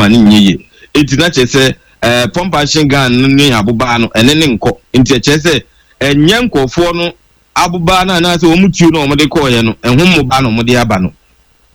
ma no nyɛ yie. Enti na kyerɛ sɛ ɛɛ pump action gun no ne abobaa no ɛne ne nkɔ. Nti ɛkyerɛ sɛ ɛnyɛ nkurɔfoɔ no abobaa no anaasɛ wɔn tuo no a wɔde kɔɔeɛ no ɛho mmobaa na wɔde aba no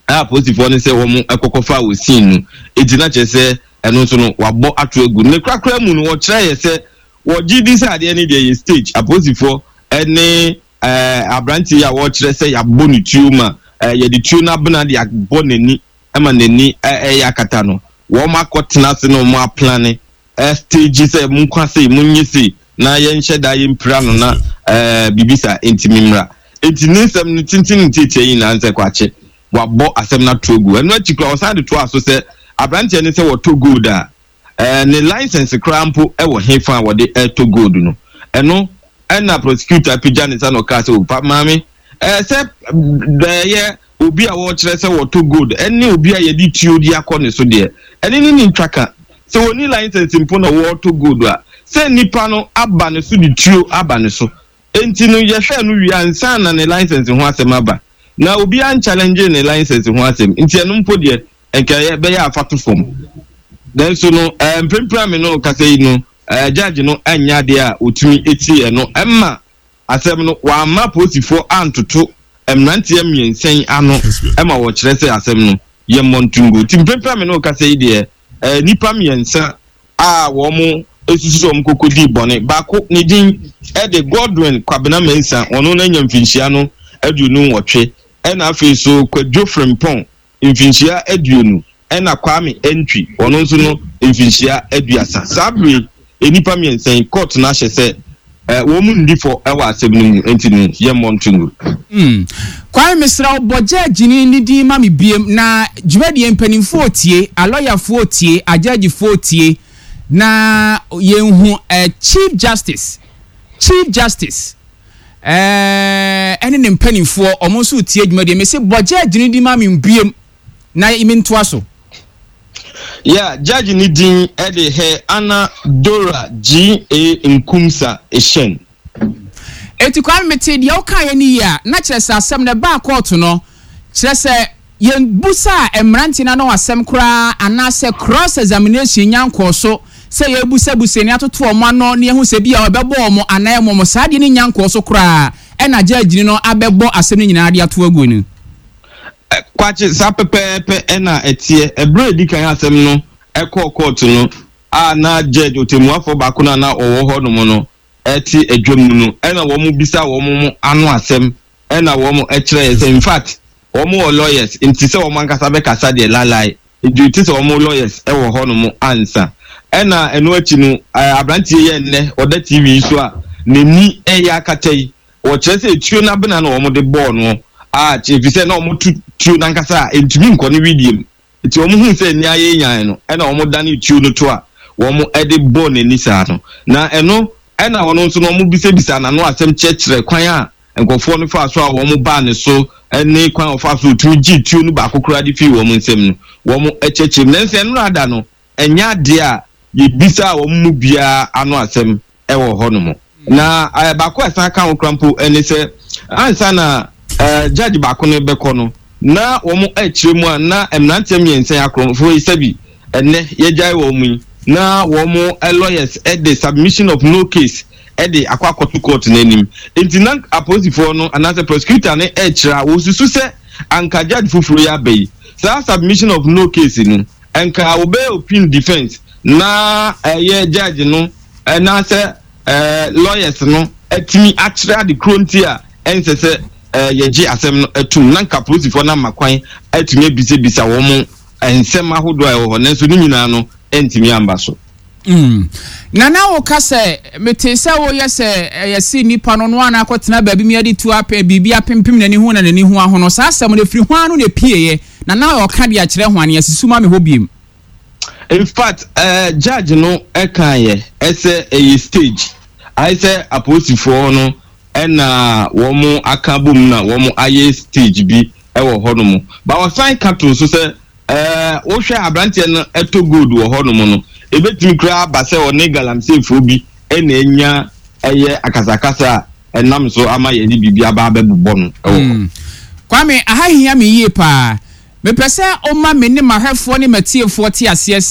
a apolisifoɔ no sɛ wɔn kɔkɔfaa wɔ scene no. Enti na kyerɛ sɛ ɛno nso no wɔabɔ ato agu. Ne korakora mu no wɔkyerɛeɛ sɛ wɔgye di sɛ adeɛ no deɛ ɛyɛ stage. Apolisifoɔ ne ɛɛ aberanteɛ yi a wɔrekyerɛ sɛ yɛabɔ ne tuo ma ɛɛ yɛde tuo no abena de abɔ n'ani ma n'ani ɛyɛ akata no, wɔn akɔtena ase na wɔn aplane stage sɛ monkwa sei, monyɛ sei na yɛnhyɛ da yɛmpira no na ɛɛ biribi saa ntumi mmra. Enti ne nsɛm no tenten ne tiatia nyinaa nsɛ kwakye wabɔ asɛm no ato agu. Ɛno akyi koraa ɔsan de toaa so sɛ aberanteɛ no sɛ wɔtɔ gold a ɛɛ ne license koraa mpo wɔ hefa a wɔde ɛtɔ gold no. Ɛno ɛna prosecutor apagya ne nsa na ɔkaa sɛ o pa maame ɛɛ sɛ ɛyɛ obi a wɔrekyerɛ sɛ wɔtɔ gold ɛne obi a yɛde tuo de akɔ ne so deɛ ɛne ne ne ntwa ka. Sɛ wɔnni license mpo na wɔretɔ gold a, sɛ nipa no aba ne so de tuo aba ne so. Enti no yɛhwɛɛ no wie ansa na ne license ho asɛm aba. Na obiara nchallenge ne license ho asɛm nti ɛno mpo deɛ nka ɛyɛ bɛyɛ a fa to fam. Nanso no ɛɛ mprempren a me ne wo kasa yi no ɛɛ judge no anyɛ adeɛ a ɔtumi tie ɛno ɛma asɛm no, wamma apolisifoɔ antoto mmeranteɛ mmiɛnsa yi ano ma wɔkyerɛ sɛ asɛm no yɛ mmɔntongo. Nti mprempren a me ne wo kasa yi deɛ, nnipa mmiɛnsa a wɔn susu sɛ wɔn kɔkɔdii bɔne, baako ne din de Godwin Kwabena Mensah, ɔno no anya mfinhyia no 28, ɛna afei nso Kwadwo Frimpong mfinhyia 20 ɛna Kwame Antwi, ɔno nso no mfinhyia 30. Saa bere yi, nnipa mmiɛnsa yi, kɔɔto no ahyɛ sɛ wɔn nni fɔ wɔ asɛm no mu, enti no yɛmmɔ nto ngu. Hmm. Kwame mesrɛ wo bɔ gyɛɛgyeni no din ma me biem na dwumadie mpanimfoɔ retie, alɔyafoɔ retie, agyɛɛgyefoɔ retie na yɛnhu eh, Chief Justice, Chief Justice eh, ɛne ne mpanimfoɔ wɔn nso retie dwumadie. Mese bɔ gyɛɛgyeni din ma me biem na mentoa so. Yeah, judge ne din de Her Anna Dora G. A. Nkumsa Eshun. Enti Kwame metee deɛ wokaeɛ no yie a, na kyerɛ sɛ asɛm no ɛbaa kɔɔto no, kyerɛ sɛ yɛnbusaa mmeranteɛ no ano asɛm koraa anaasɛ cross examination nya nkɔɔ so sɛ yɛrebusabusa ani atoto wɔn ano na yɛahu sɛ ebia wɔbɛbɔ wɔn anaa ɛmmɔ wɔn, saa adeɛ no nnya nkɔɔ so koraa ɛna gyɛɛgyeni no abɛbɔ asɛm no nyinaa de ato agu no. Kwakye, saa pɛpɛɛpɛ na ɛteɛ. Ɛberɛ a ɛdi kan asɛm no kɔɔ kɔɔto no a na judge, ɔtɛmmuafoɔ baako no a na ɔwɔ hɔ nom no te adwa mu no, ɛna wɔn bisa wɔn ano asɛm ɛna wɔn kyerɛɛ sɛ in fact wɔn wɔ lawyers nti sɛ wɔn ankasa bɛkasa deɛ lalai nti te sɛ wɔn lawyers wɔ hɔ nom ansa. Ɛna ɛno akyi no aberanteɛ yi a ɛnnɛ ɔda TV yi so a n'ani ɛyɛ akata yi, Wɔkyerɛ sɛ tuo no abena na wɔde bɔɔ no a, efisɛ na wɔto tuo no ankasa a, entumi nkɔ ne wedeɛ mu. Enti wɔhuu sɛ ani ayɛ nyan no, ɛnna wɔdanee tuo no to a wɔde bɔɔ n'ani saa no. Na ɛno na ɔno nso no, wɔbisabisaa n'ano asɛm kyerɛkyerɛɛ kwan a nkurɔfoɔ no faa so a wɔbaa ne so ne kwan a ɔfaa so ɔtumi gyee tuo no baako koraa de fii wɔn nsam no, wɔkyerɛkyerɛɛ mu. Nanso ɛnnora da no, ɛnyɛ adeɛ a yɛbisaa wɔn mu biara ano asɛm wɔ hɔnom. Na baako a ɛsan ka ho koraa mpo ne sɛ, ansa na judge baako no rebɛkɔ no, na wɔrekyerɛ mu a na mmeranteɛ mmiɛnsa yi akorɔmfoɔ yi sɛbi ɛnnɛ yɛagyae wɔn yi, na wɔn lawyers de submission of no case de akɔ akɔto court no anim. Nti na apolisifoɔ no anaasɛ prosecutor no rekyerɛ a wɔsusu sɛ anka judge foforɔ yi aba yi, saa submission of no case no, nka wɔbɛyɛ open defence na ɛyɛ judge no anaasɛ lawyers no atumi akyerɛ ade koro nti a ɛnsɛ sɛ yɛgye asɛm no tom na nka apolisifoɔ no ama kwan atumi abisabisa wɔn nsɛm ahodoɔ a ɛwɔ hɔ, nanso ne nyinaa no antumi amba so. Mm. Na na woka sɛ, metee sɛ woyɛ sɛ ɛyɛ se nipa no no a na akɔtena baabi mi ade tu apɛ biribi apempem n'ani ho na n'ani ho ahono. Saa asɛm no ɛfiri hwan ano na ɛpieeɛ? Na na ɔka de akyerɛ hwan? Asusu ma me hɔ biem. In fact, eh, judge no kaeɛ sɛ ɛyɛ stage. Ayɛ sɛ apolisifoɔ no na wɔn aka abom na wɔn ayɛ stage bi wɔ hɔnom. But ɔsan ka too so sɛ, eh, wohwɛ aberanteɛ no tɔ gold wɔ hɔnom no, ɛbɛtumi koraa aba sɛ ɔne galamseyfoɔ bi na anya ɛyɛ akasakasa a ɛnam so ama yɛde biribi aba abɛbobɔ no wɔ hɔ. Hmm. Kwame, aha hia me yie paa. Mepɛ sɛ woma me ne m'ahwɛfoɔ ne m'atiefoɔ te aseɛ sɛ.